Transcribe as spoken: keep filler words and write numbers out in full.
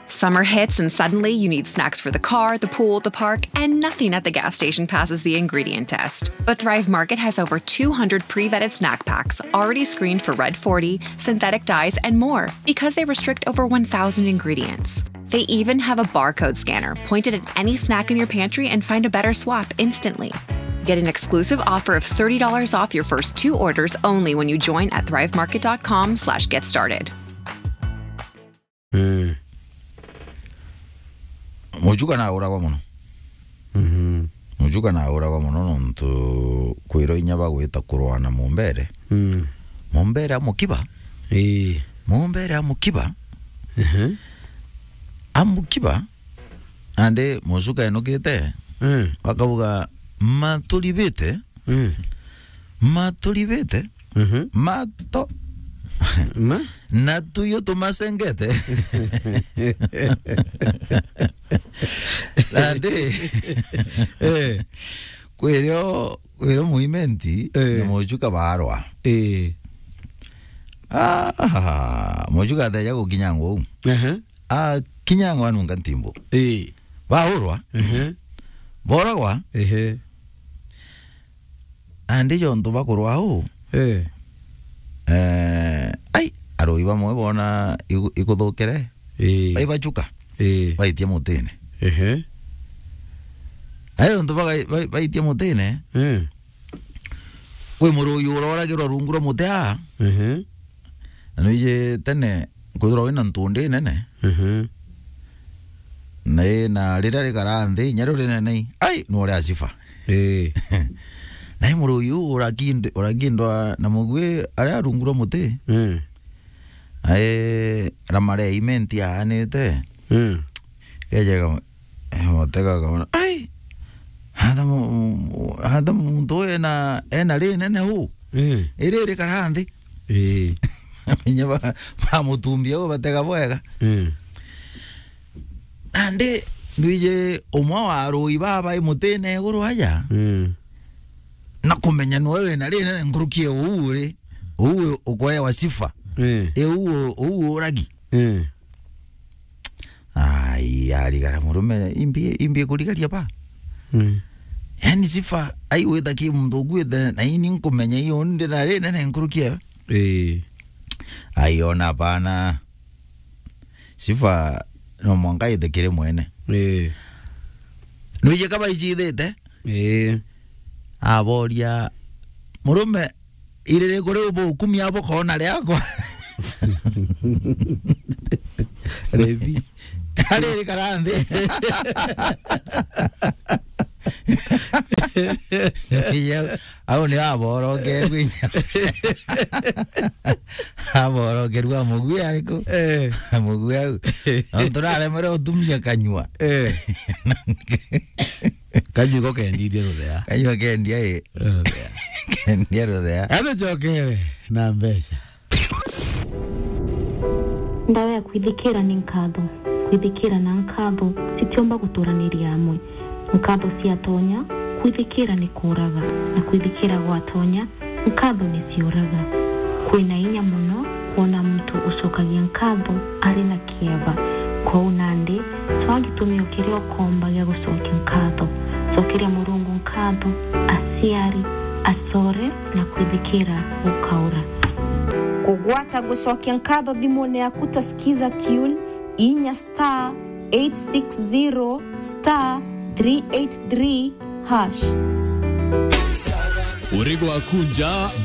Summer hits and suddenly you need snacks for the car, the pool, the park, and nothing at the gas station passes the ingredient test. But Thrive Market has over two hundred pre-vetted snack packs already screened for Red forty, synthetic dyes, and more because they restrict over one thousand ingredients. They even have a barcode scanner pointed at any snack in your pantry and find a better swap instantly. Get an exclusive offer of thirty dollars off your first two orders only when you join at thrivemarket.com/get started. Mm. Muchuka nauragwa muno. Mhm. Muchuka nauragwa muno nontu kwirwa inya bagwita kurwa na mumbere. Mm. Mumbere amukiba. Ii. Mumbere amukiba. Mhm. Amukiba. Andi muchuka enukite. Mm. Akauga, "Maturibite." Mm. Maturibite. Mhm. Mato. Ma? Na tuyo tumasengete. Nandi. Eh. Kwirio, kwirio muimenti, eh, na muchuka barwa. Eh. Ah, muchuka ateja gukinya nguu. Aha. Akinya nguu anunga ntimbo. Eh. Baurwa. Ehe. Boragwa. Ehe. Andi jontu bakurwa uu. Eh. Eh, ai, arui bamwe bona igu-, ikuthukire. Eh. Baibachuka. Eh. Baitia mutine. Ehe. Ai, jontu bagai-, bai-, baitia mutine. Eh. Kwi murui uroragirwa rungu rwa muti aa. Ehe. Na nwiji tene kwithirwa wina ntundi nene. Mhm. Na i-, na riria rikara nthi, inya riu rinene i, ai, ni uria aciba. Ii. Na i murui uu urakind-, urakindwa na mugui aria rungu rwa muti. Mm. Na i, ramare imenti aanite. Mm. Kejega, eh, mutega akaona, "Ai! Hata mu-, mu-, hata muntu uyu ena, ena rinene uu. Mm. Iri rikara nthi." Ii. Inya ba-, bamutumbia uu batega bwega. Mm. Nandi, ndwiji umwe wa arui baba i mutine iguru aja. Mm. Na kumenya niwe wina rinene nkuruki e uu uri, uu ukwewa sifa. Mm. E uu, uu uragi. Mm. Ai, arigara murume, imbi, imbi kurigaria ba. Mm. Yani sifa, ai wita ki muntu ukuite, na ini nkumenya iyo ndi na rinene nkuruki ewe. Ii. Ai ona bana. Sifa no mwanka ite kiri mwene. Ii. Nwiji kaba icithite? Ii. Aboria, "Murume, iririku riu bukumia bukoona riakwa?" Levi. Ariri kara nthi. Iya, au ni aborokerua inya. Aborokerua mugui ariku? Eh. Mugui au. No turaremere utumia kanyua. Eh. Kanyua iko kendithia ruthea. Kanyua kendia i. Ruthea. Kendia ruthea. Gathucokere na mbeca. Ndawa ya kwithikira ni nkatho. Kwithikira na nkatho citiumba guturaniria amwe. Nkatho ciatonya, kwithikira ni kuuraga, na kwithikira gwatonya, nkatho ni ciuraga. Kwina inya mono kwona muntu ucokagia nkatho ari na kieba. Kwou nandi, cwaa gitumi o kiria ukomba gia gucokia nkatho. Cokeria Murungu nkatho, aciari, acore, na kwithikira gukaura. Kugwata gucokia nkatho thimune yaku ta Skiza Tune, inya star eight six zero star three eight three hash. Uri gwaku nja,